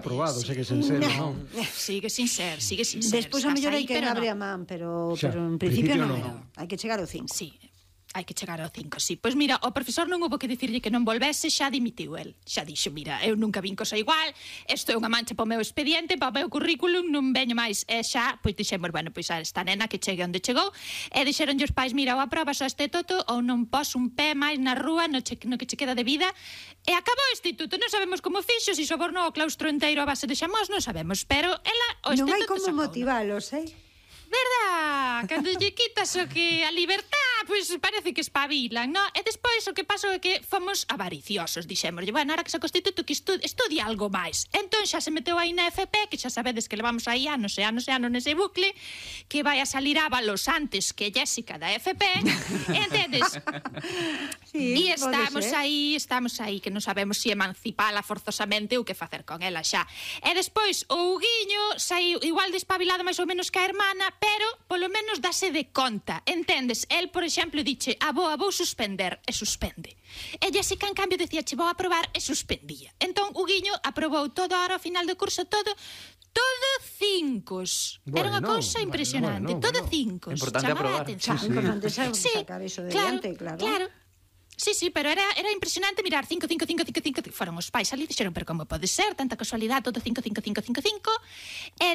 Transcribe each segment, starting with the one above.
aprobado, segue sen ser, non? Sigue sin ser. Despois a mellor hai que abre a man, pero en principio non. Hai que chegar ao 5. Sí. Hai que chegar ao 5, sí. Pois mira, o profesor non houve que dicirlle que non volvese, xa dimitiu el. Xa dixo, mira, eu nunca vin cosa igual, isto é unha mancha para o meu expediente, para o meu currículum, non veño máis. E xa, pois dixemos, bueno, pois a esta nena que chegue onde chegou, e dixeronlle os pais, mira, ou aprobas o este toto, ou non pos un pé máis na rúa no que che queda de vida. E acabou o instituto, non sabemos como fixo, se sobornou o claustro inteiro a base de xamós, non sabemos, pero ela o Non este hai toto como motivalos, verdad? Cando lle quitas o que a libertad, pois parece que espabilan, non? E despois o que pasou é que fomos avariciosos, dixémoslle, bueno, ahora que se constituto que estudia algo máis. Entón xa se meteu aí na FP, que xa sabedes que levamos aí anos e anos e anos nese bucle, que vai a salir Ábalos antes que Jéssica da FP, entendes? Sí, e estamos aí, que non sabemos se emancipala forzosamente ou que facer con ela xa. E despois o Huguiño saiu igual de espabilado máis ou menos que a hermana, pero polo menos dase de conta, entendes? El, por exemplo, diche, vou suspender, e suspende. E Jéssica, en cambio, decía, che vou aprobar, e suspendía. Entón, Huguiño aprobou todo ahora ao final do curso, todo 5. Era unha cousa impresionante, todo 5. Importante aprobar. Importante sacar eso de diante, claro. Sí, pero era impresionante mirar 5. Foron os pais ali e dixeron, pero como pode ser, tanta casualidade, todo 5. E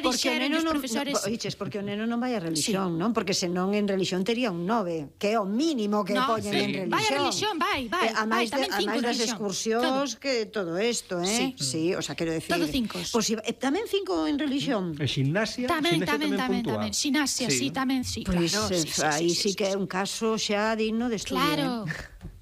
dixeron os profesores... Porque o neno non vai a religión, non? Porque senón en religión tería un 9, que é o mínimo que poñen en religión. Vai a religión, vai, tamén 5 religión. Das excursións, que todo isto, Sí, o sea, quero decir... Todo 5. Tamén 5 en religión. E ximnasia? Tamén. Ximnasia, sí, tamén, sí. Pois aí sí que é un caso xa digno de estudio. Claro.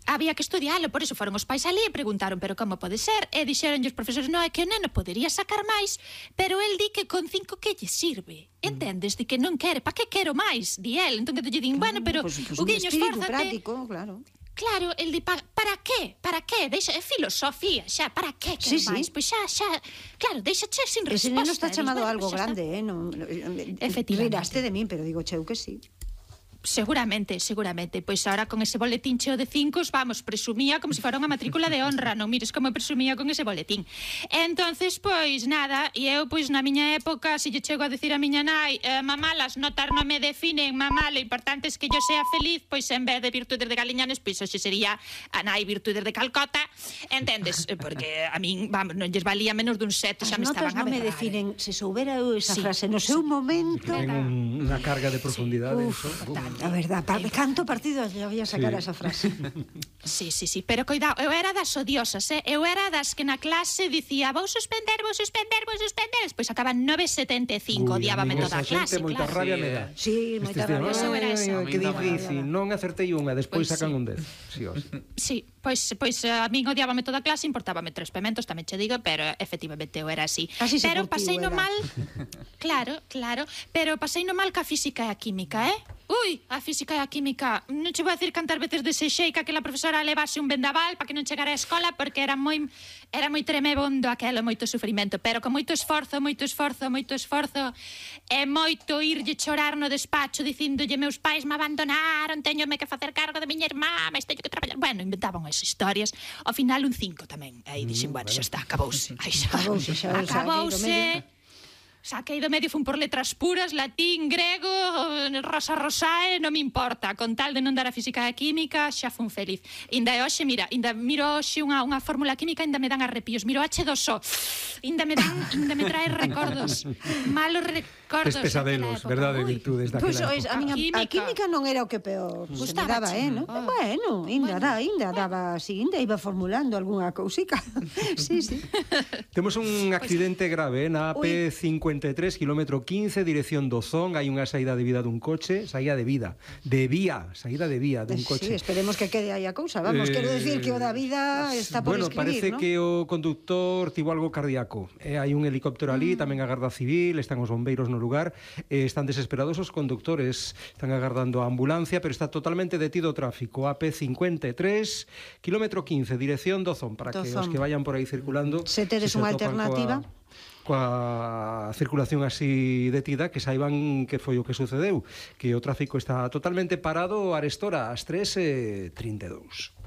Había que estudialo, por iso foron os pais ali e preguntaron, pero como pode ser? E dixeronlle os profesores, non, é que o neno podería sacar máis, pero el di que con 5 que lle sirve. Entendes? Di que non quere, pa que quero máis? Di el. Entón que lle din, bueno, pero o guiño esfórzate. Práctico, claro. Claro, el di, para qué? Para qué? Deixa, é filosofía, xa, para qué quero máis? Pois xa, claro, deixache sin resposta. Ese neno está chamado algo grande, Efectivamente. Riraste de min, pero digo, cheu que sí. Seguramente. Pois ahora con ese boletín cheo de 5, vamos, presumía como se fora unha matrícula de honra. Non mires como presumía con ese boletín. Entonces, pois nada, e eu pois na miña época, se lle chego a decir a miña nai, mamá, las notas non me definen, mamá, lo importante es que yo sea feliz, pois en vez de virtudes de Galiñanes, pois hoxe sería a nai virtudes de Calcota, entendes? Porque a min, vamos, non lles valía menos dun 7, xa me estaban a berrar. As notas non me definen, se soubera eu esa frase no seu momento... Ten unha carga de profundidade. A verdad, canto partido lle voy a sacar esa frase. Sí, pero coidado, eu era das odiosas, eu era das que na clase dicía vou suspender, despois acaban 9,75, odiábame toda a clase, moita rabia me dá. Sí, moita rabia. Eso era eso. Que difícil, non acertei unha, despois sacan un 10. Sí, pois a min odiábame toda a clase, importábame 3 pementos, tamén che digo, pero efectivamente eu era así. Pero pasei no mal, claro, pero pasei no mal ca física e a química, Ui, a física e a química, non che vou a decir cantas veces desexei que aquela profesora levase un vendaval para que non chegara á escola, porque era moi tremebondo aquelo, moito sufrimento, pero con moito esforzo, e moito irlle chorar no despacho dicindolle meus pais me abandonaron, teñome que facer cargo de miña irmá, mas teño que traballar. Bueno, inventaban esas historias. Ao final un 5 tamén. Aí dixen, bueno, xa está, acabouse. Saquei do medio, fun por letras puras, latín, grego, rosae, non me importa. Con tal de non dar a física e a química, xa fun feliz. Inda hoxe, mira, miro hoxe unha fórmula química, ainda me dan arrepios. Miro H2O, ainda me trae recordos, malos recordos. Pesadelos, verdade, virtudes daquela época. A química non era o que peor se me daba, non? Bueno, ainda daba así, ainda iba formulando algunha cousica. Sí. Temos un accidente grave na AP53, kilómetro 15, dirección Dozón. Hai unha saída de vía dun coche, saída de vía dun coche. Sí, esperemos que quede aí a cousa, vamos, quero decir que o da vida está por escribir, parece ¿no? que o conductor tivo algo cardíaco. Hai un helicóptero ali, tamén a Garda Civil, están os bombeiros no lugar, están desesperados os conductores, están agardando a ambulancia, pero está totalmente detido o tráfico. AP53, kilómetro 15, dirección Dozón, para que os que vayan por aí circulando, se tedes unha alternativa coa circulación así detida, que saiban que foi o que sucedeu, que o tráfico está totalmente parado. Arestora ás 3:32.